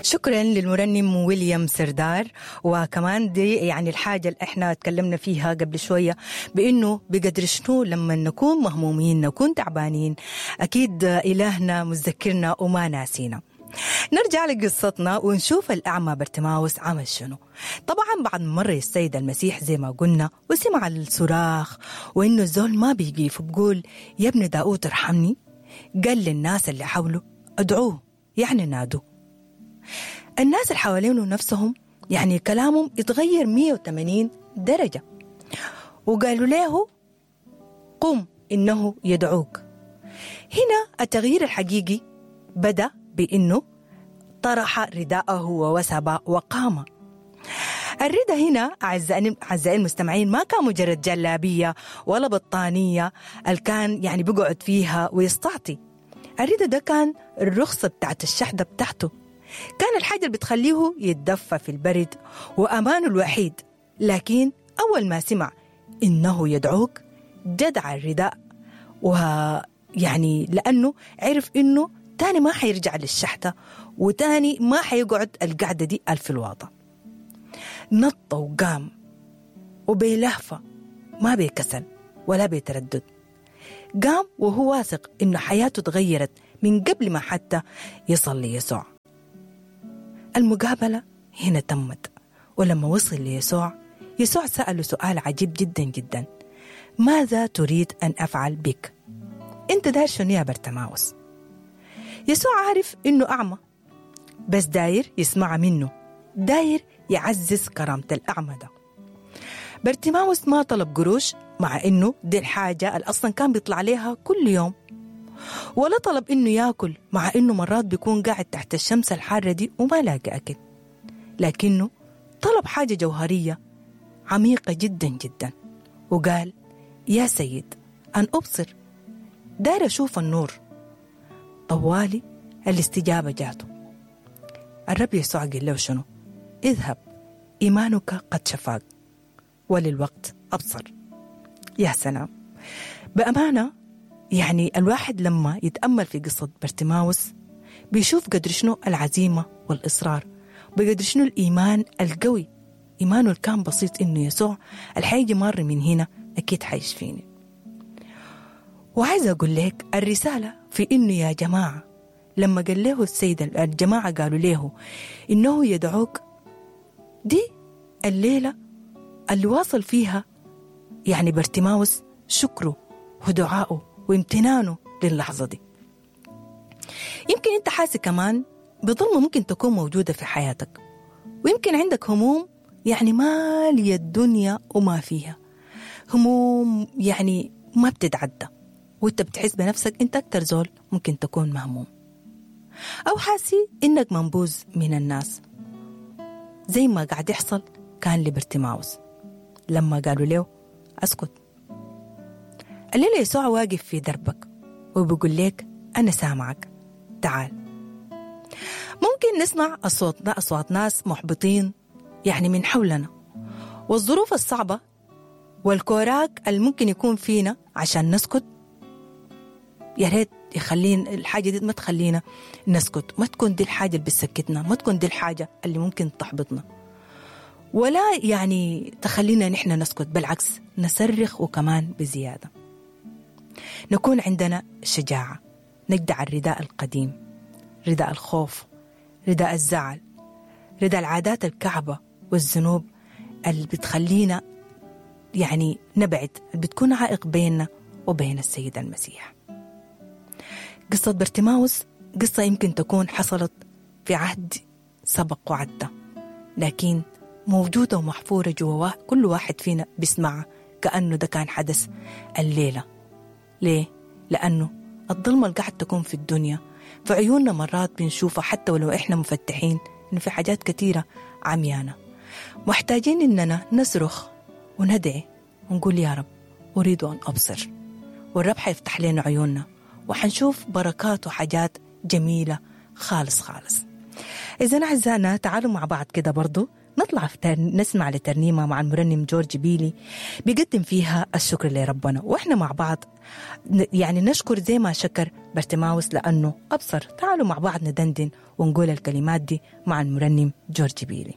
شكرا للمرنم ويليام سردار. وكمان دي يعني الحاجة اللي احنا تكلمنا فيها قبل شوية، بانه بقدر شنو لما نكون مهمومين، نكون تعبانين، اكيد الهنا متذكرنا وما ناسينا. نرجع لقصتنا ونشوف الأعمى برتماوس عمل شنو. طبعا بعد مرة السيد المسيح زي ما قلنا وسمع الصراخ وإنه الزول ما بيقيف وبقول يا ابن داود ارحمني، قال للناس اللي حوله ادعوه، يعني نادوه. الناس اللي حوالينه نفسهم يعني كلامهم اتغير 180 درجة، وقالوا له قم إنه يدعوك. هنا التغيير الحقيقي بدأ بإنه طرح رداءه ووثب وقام. الرداء هنا أعزائي المستمعين ما كان مجرد جلابية ولا بطانية اللي كان يعني بيقعد فيها ويستعطي. الرداء ده كان الرخصة بتاعت الشحدة بتاعته، كان الحاجة اللي بتخليه يتدفى في البرد وأمانه الوحيد. لكن أول ما سمع إنه يدعوك جدع الرداء، ويعني لأنه عرف إنه تاني ما حيرجع للشحتة وتاني ما حيقعد القعدة دي ألف الواطة. نط وقام وبلهفة، ما بيكسل ولا بيتردد، قام وهو واثق إنه حياته تغيرت من قبل ما حتى يصل ليسوع. المقابلة هنا تمت، ولما وصل ليسوع يسوع سأله سؤال عجيب جدا جدا: ماذا تريد أن أفعل بك؟ أنت داير شنو يا برتماوس؟ يسوع عارف إنه أعمى، بس داير يسمع منه، داير يعزز كرامة الأعمى ده. برتماوس ما طلب قروش، مع إنه دي الحاجة اللي أصلا كان بيطلع لها كل يوم، ولا طلب إنه ياكل، مع إنه مرات بيكون قاعد تحت الشمس الحارة دي وما لاقي أكل. لكنه طلب حاجة جوهرية عميقة جدا جدا، وقال يا سيد أن أبصر، داير أشوف النور. طوالي الاستجابة جاته. الرب يسوع قال له شنو؟ اذهب، إيمانك قد شفاك، وللوقت أبصر. يا سلام، بأمانة يعني الواحد لما يتأمل في قصة برتماوس بيشوف قدر شنو العزيمة والإصرار، بقدر شنو الإيمان القوي، إيمانه اللي كان بسيط إنه يسوع الحيجي مر من هنا أكيد حيشفيني. وعايزة أقول لك الرسالة في إنه يا جماعة لما قال له السيد الجماعة قالوا له إنه يدعوك، دي الليلة اللي واصل فيها يعني برتماوس شكره ودعائه وامتنانه للحظة دي. يمكن أنت حاسس كمان بظلمة ممكن تكون موجودة في حياتك، ويمكن عندك هموم يعني مالية الدنيا وما فيها، هموم يعني ما بتتعدى، وانت بتحس بنفسك انت أكتر زول ممكن تكون مهموم، أو حاسي إنك منبوذ من الناس، زي ما قاعد يحصل كان لبرتماوس لما قالوا له أسكت. الليلة يسوع واقف في دربك وبيقول لك أنا سامعك، تعال. ممكن نسمع أصوات ناس محبطين يعني من حولنا، والظروف الصعبة والكوراك اللي ممكن يكون فينا عشان نسكت. يا ريت يخلينا الحاجة دي ما تخلينا نسكت، ما تكون دي الحاجة اللي بتسكتنا، ما تكون دي الحاجة اللي ممكن تحبطنا، ولا يعني تخلينا نحن نسكت، بالعكس نصرخ وكمان بزيادة. نكون عندنا شجاعة، نجدع الرداء القديم، رداء الخوف، رداء الزعل، رداء العادات الكعبة والذنوب اللي بتخلينا يعني نبعد، اللي بتكون عائق بيننا وبين السيد المسيح. قصة برتماوس قصة يمكن تكون حصلت في عهد سبق وعدى، لكن موجودة ومحفورة جوا كل واحد فينا بيسمعها كأنه ده كان حدث الليلة. ليه؟ لأنه الظلمة اللي قاعد تكون في الدنيا في عيوننا مرات بنشوفها حتى ولو إحنا مفتحين، إنه في حاجات كثيرة عميانة. محتاجين إننا نصرخ وندعي ونقول يا رب أريد أن أبصر، والرب حيفتح لنا عيوننا وحنشوف بركات وحاجات جميلة خالص خالص. إذن أعزائنا تعالوا مع بعض كده برضو نطلع في نسمع لترنيمة مع المرنم جورج بيلي بيقدم فيها الشكر لربنا، وإحنا مع بعض يعني نشكر زي ما شكر برتماوس لأنه أبصر. تعالوا مع بعض ندندن ونقول الكلمات دي مع المرنم جورج بيلي.